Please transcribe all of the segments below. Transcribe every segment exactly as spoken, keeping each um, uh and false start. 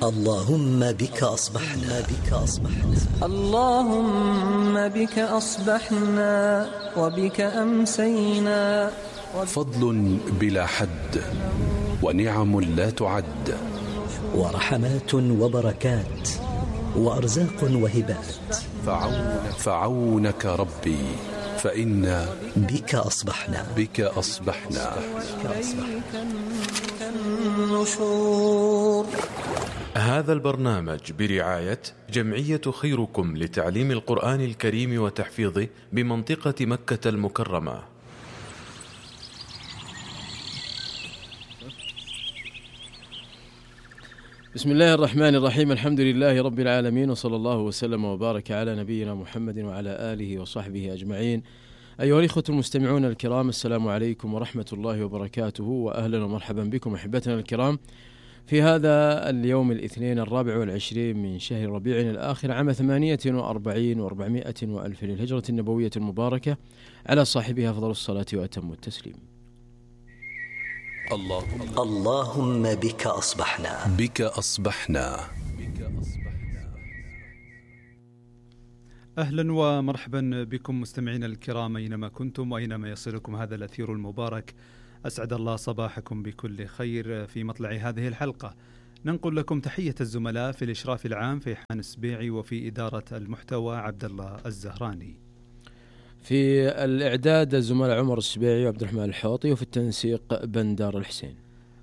اللهم بك أصبحنا بك أصبحنا اللهم بك أصبحنا وبك أمسينا. فضل بلا حد ونعم لا تعد ورحمات وبركات وأرزاق وهبات فعونك, فعونك ربي فإنا بك أصبحنا بك أصبحنا, بك أصبحنا. النشور. هذا البرنامج برعاية جمعية خيركم لتعليم القرآن الكريم وتحفيظه بمنطقة مكة المكرمة. بسم الله الرحمن الرحيم. الحمد لله رب العالمين، وصلى الله وسلم وبارك على نبينا محمد وعلى آله وصحبه أجمعين. أيها الإخوة المستمعون الكرام، السلام عليكم ورحمة الله وبركاته، وأهلا ومرحبا بكم أحبتنا الكرام في هذا اليوم الاثنين الرابع والعشرين من شهر ربيع الآخر عام ثمانية وأربعين وأربعمائة وألف للهجرة النبوية المباركة، على صاحبها أفضل الصلاة وأتم التسليم. اللهم, اللهم بك أصبحنا بك أصبحنا. أهلا ومرحبا بكم مستمعين الكرام أينما كنتم وأينما يصلكم هذا الأثير المبارك. أسعد الله صباحكم بكل خير. في مطلع هذه الحلقة ننقل لكم تحية الزملاء في الإشراف العام فيحان السبيعي، وفي إدارة المحتوى عبد الله الزهراني، في الإعداد الزملاء عمر السبيعي وعبد الرحمن الحوطي، وفي التنسيق بندار الحسين.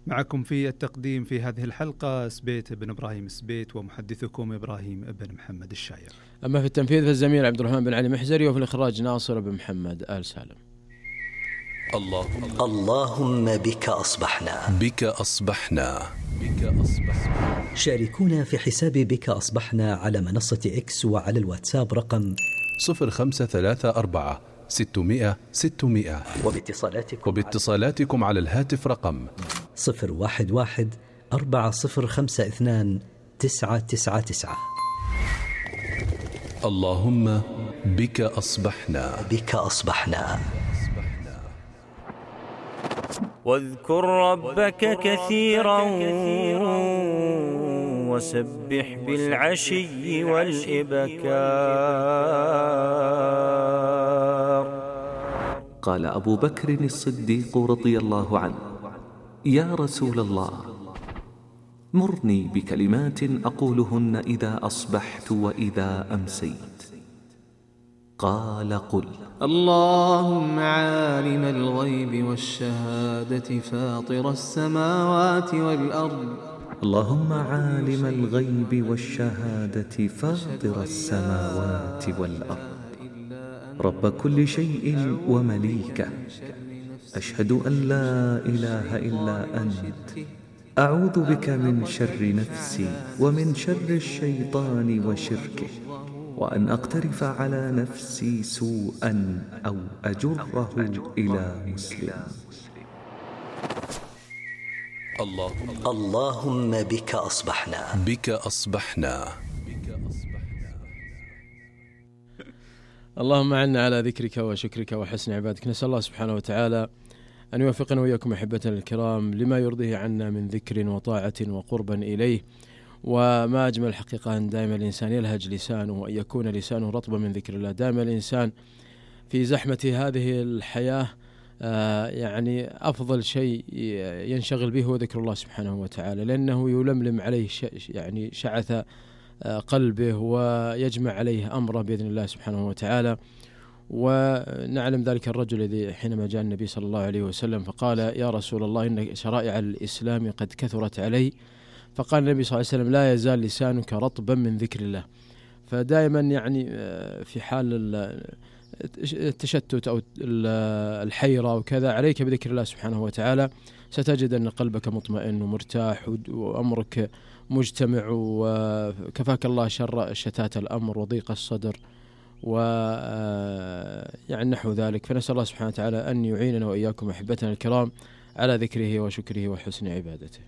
معكم في التقديم في هذه الحلقة سبيت بن إبراهيم سبيت، ومحدثكم إبراهيم بن محمد الشاير. أما في التنفيذ فالزميل عبد الرحمن بن علي محزري، وفي الإخراج ناصر بن محمد آل سالم. اللهم, اللهم بك أصبحنا بك أصبحنا بك أصبحنا. شاركونا في حساب بك أصبحنا على منصة إكس وعلى الواتساب رقم صفر خمسة ثلاثة أربعة ستمائة ستمائة، وباتصالاتكم, وباتصالاتكم على الهاتف رقم صفر واحد واحد أربعة صفر خمسة اثنان تسعة تسعة تسعة. اللهم بك أصبحنا بك أصبحنا. واذكر ربك كثيرا وسبح بالعشي والإبكار. قال أبو بكر الصديق رضي الله عنه: يا رسول الله، مرني بكلمات أقولهن إذا أصبحت وإذا أمسيت. قال: قل: اللهم عالم الغيب والشهادة فاطر السماوات والأرض. اللهم عالم الغيب والشهادة فاطر السماوات والأرض، رب كل شيء ومليكه، أشهد أن لا إله إلا أنت، أعوذ بك من شر نفسي ومن شر الشيطان وشركه، وأن أقترف على نفسي سوءا أو أجره إلى مسلم. اللهم, اللهم بك أصبحنا بك أصبحنا. اللهم عنا على ذكرك وشكرك وحسن عبادك. نسأل الله سبحانه وتعالى أن يوفقنا وإياكم أحبتنا الكرام لما يرضيه عنا من ذكر وطاعة وقربا إليه. وما أجمل الحقيقة أن دائما الإنسان يلهج لسانه وأن يكون لسانه رطبا من ذكر الله. دائما الإنسان في زحمة هذه الحياة آه يعني أفضل شيء ينشغل به هو ذكر الله سبحانه وتعالى، لأنه يلملم عليه يعني شعث آه قلبه ويجمع عليه أمره بإذن الله سبحانه وتعالى. ونعلم ذلك الرجل الذي حينما جاء النبي صلى الله عليه وسلم فقال: يا رسول الله، إن شرائع الإسلام قد كثرت علي. فقال النبي صلى الله عليه وسلم: لا يزال لسانك رطبا من ذكر الله. فدائما يعني في حال التشتت أو الحيرة وكذا عليك بذكر الله سبحانه وتعالى، ستجد أن قلبك مطمئن ومرتاح وأمرك مجتمع، وكفاك الله شر شتات الأمر وضيق الصدر و يعني نحو ذلك. فنسأل الله سبحانه وتعالى أن يعيننا وإياكم أحبتنا الكرام على ذكره وشكره وحسن عبادته.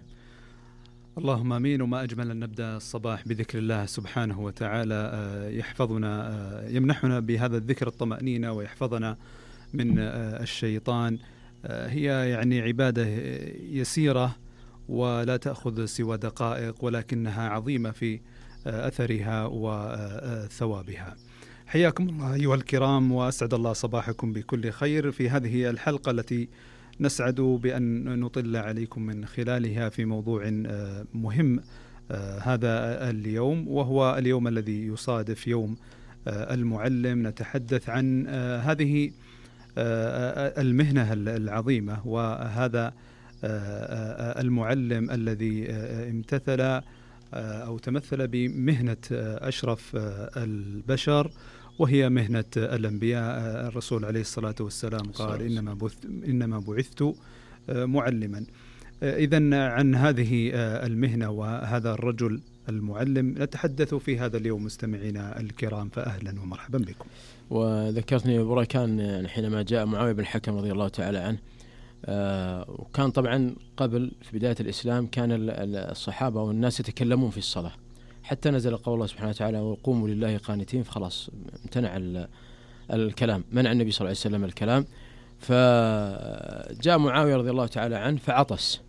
اللهم امين. وما اجمل ان نبدا الصباح بذكر الله سبحانه وتعالى، يحفظنا يمنحنا بهذا الذكر الطمأنينة ويحفظنا من الشيطان. هي يعني عبادة يسيرة ولا تأخذ سوى دقائق، ولكنها عظيمة في أثرها وثوابها. حياكم الله أيها الكرام، وأسعد الله صباحكم بكل خير في هذه الحلقة التي نسعد بأن نطل عليكم من خلالها في موضوع مهم هذا اليوم، وهو اليوم الذي يصادف يوم المعلم. نتحدث عن هذه المهنة العظيمة، وهذا المعلم الذي امتثل أو تمثل بمهنة أشرف البشر، وهي مهنة الأنبياء. الرسول عليه الصلاة والسلام قال إنما بعثت إنما بعثت معلما. إذن عن هذه المهنة وهذا الرجل المعلم نتحدث في هذا اليوم مستمعينا الكرام، فأهلا ومرحبا بكم. وذكرتني بركان حينما جاء معاوية بن الحكم رضي الله تعالى عنه، آه وكان طبعا قبل في بداية الإسلام كان الصحابة والناس يتكلمون في الصلاة، حتى نزل قول الله سبحانه وتعالى وقوموا لله قانتين، فخلاص امتنع الكلام، منع النبي صلى الله عليه وسلم الكلام. فجاء معاوية رضي الله تعالى عنه فعطس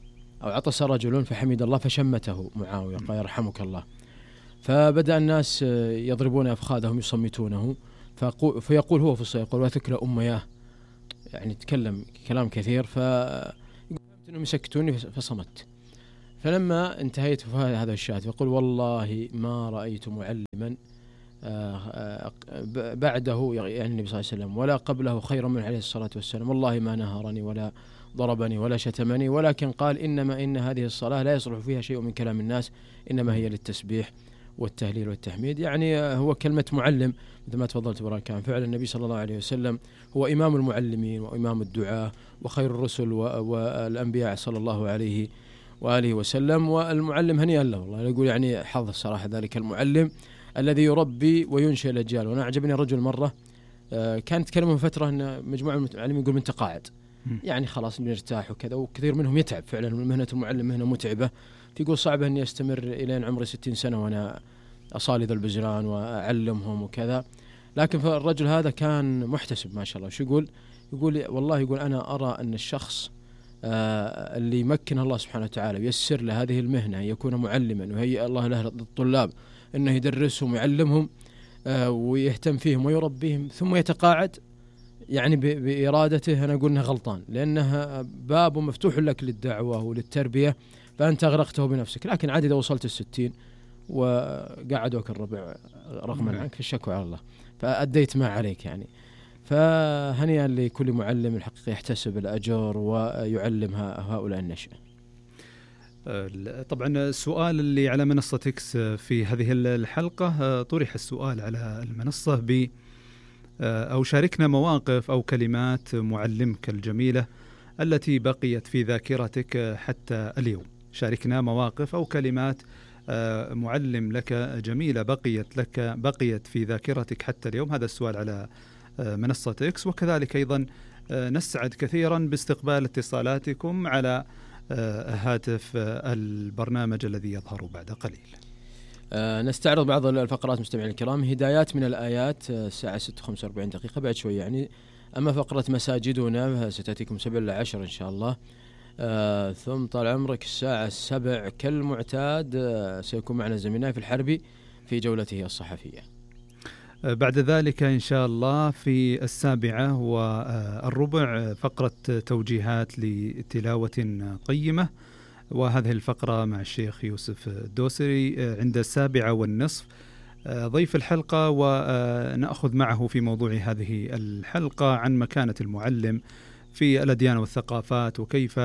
أو عطس رجل فحمد الله فشمته معاوية قال يرحمك الله. فبدأ الناس يضربون أفخاذهم يصمتونه، فيقول هو في الصلاة يقول وثكل أمياه، يعني تكلم كلام كثير، ففهمت أنهم يسكتوني فصمت. فلما انتهيت في هذا الشاهد يقول والله ما رأيت معلما بعده يعني النبي صلى الله عليه وسلم ولا قبله خيرا من عليه الصلاة والسلام، والله ما نهرني ولا ضربني ولا شتمني، ولكن قال إنما إن هذه الصلاة لا يصلح فيها شيء من كلام الناس، إنما هي للتسبيح والتهليل والتحميد. يعني هو كلمة معلم مثل ما تفضلت براكان، فعلا النبي صلى الله عليه وسلم هو إمام المعلمين وإمام الدعاة وخير الرسل والأنبياء صلى الله عليه وآله وسلم. والمعلم هنيئا له والله، يقول يعني حظ الصراحة ذلك المعلم الذي يربي وينشئ الأجيال. وأنا أعجبني رجل مرة كانت تكلمه فترة أن مجموعة من المعلمين يقول من تقاعد، يعني خلاص بنرتاح وكذا، وكثير منهم يتعب فعلا، مهنة المعلم مهنة متعبة، فيقول صعب أني أستمر إلى عمري ستين سنة وأنا أصالي ذا البزران وأعلمهم وكذا. لكن فالرجل هذا كان محتسب ما شاء الله. شو يقول؟ يقول والله يقول أنا أرى أن الشخص آه اللي يمكن الله سبحانه وتعالى ويسر له هذه المهنة يكون معلما وهيئ الله له الطلاب أنه يدرسهم ويعلمهم آه ويهتم فيهم ويربيهم ثم يتقاعد، يعني بإرادته، أنا أقول أنه غلطان، لأنها باب مفتوح لك للدعوة وللتربية، فأنت أغرقته بنفسك. لكن عادي إذا وصلت الستين وقعدوك الربع رغما عنك فالشكوى على الله، فأديت ما عليك يعني. فهنيئا لكل معلم الحقيقة يحتسب الأجر ويعلم هؤلاء النشأة. طبعا السؤال اللي على منصة إكس في هذه الحلقة طرح السؤال على المنصة ب أو شاركنا مواقف أو كلمات معلمك الجميلة التي بقيت في ذاكرتك حتى اليوم. شاركنا مواقف أو كلمات معلم لك جميلة بقيت لك بقيت في ذاكرتك حتى اليوم. هذا السؤال على منصة إكس. وكذلك أيضا نسعد كثيرا باستقبال اتصالاتكم على هاتف البرنامج الذي يظهر بعد قليل. نستعرض بعض الفقرات مستمعين الكرام. هدايات من الآيات الساعة ستة وخمسة وأربعين دقيقة بعد شوي يعني. أما فقرة مساجدنا ستأتيكم سبع إلى عشر إن شاء الله. آه ثم طال عمرك الساعة السبع كالمعتاد آه سيكون معنا زميلنا في الحربي في جولته الصحفية. آه بعد ذلك إن شاء الله في السابعة والربع فقرة توجيهات لتلاوة قيمة، وهذه الفقرة مع الشيخ يوسف الدوسري. آه عند السابعة والنصف آه ضيف الحلقة، ونأخذ معه في موضوع هذه الحلقة عن مكانة المعلم في الأديان والثقافات، وكيف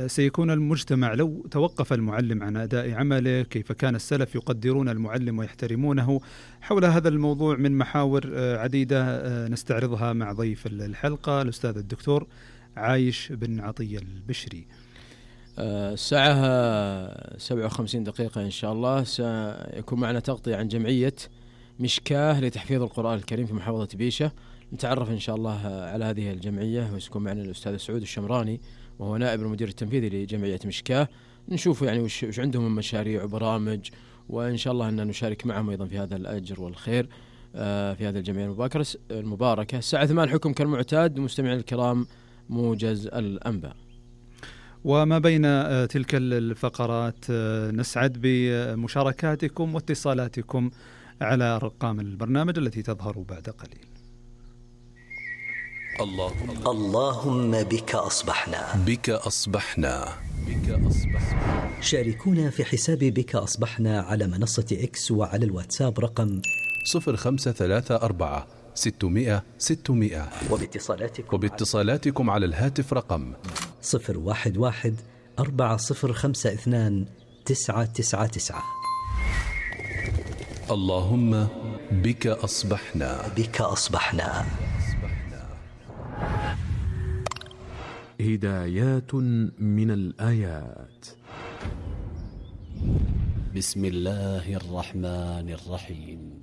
سيكون المجتمع لو توقف المعلم عن أداء عمله، كيف كان السلف يقدرون المعلم ويحترمونه. حول هذا الموضوع من محاور عديدة نستعرضها مع ضيف الحلقة الأستاذ الدكتور عايش بن عطية البشري. الساعة سبعة وخمسين دقيقة إن شاء الله سيكون معنا تغطية عن جمعية مشكاه لتحفيظ القرآن الكريم في محافظة بيشة. نتعرف إن شاء الله على هذه الجمعية، وسيكون معنا الأستاذ سعود الشمراني وهو نائب المدير التنفيذي لجمعية مشكاه. نشوف يعني وش, وش عندهم من مشاريع وبرامج، وإن شاء الله أن نشارك معهم أيضا في هذا الأجر والخير في هذه الجمعية المباركة. الساعة ثمان حكم كالمعتاد. مستمعين الكرام موجز الأنباء. وما بين تلك الفقرات نسعد بمشاركاتكم واتصالاتكم على أرقام البرنامج التي تظهر بعد قليل. اللهم اللهم بك أصبحنا بك أصبحنا بك أصبحنا. شاركونا في حساب بك أصبحنا على منصة إكس وعلى الواتساب رقم صفر خمسة ثلاثة أربعة ستمائة ستمائة وباتصالاتكم, وباتصالاتكم على الهاتف رقم صفر واحد واحد أربعة صفر خمسة اثنان تسعة تسعة تسعة. اللهم بك أصبحنا بك أصبحنا. هدايات من الآيات. بسم الله الرحمن الرحيم.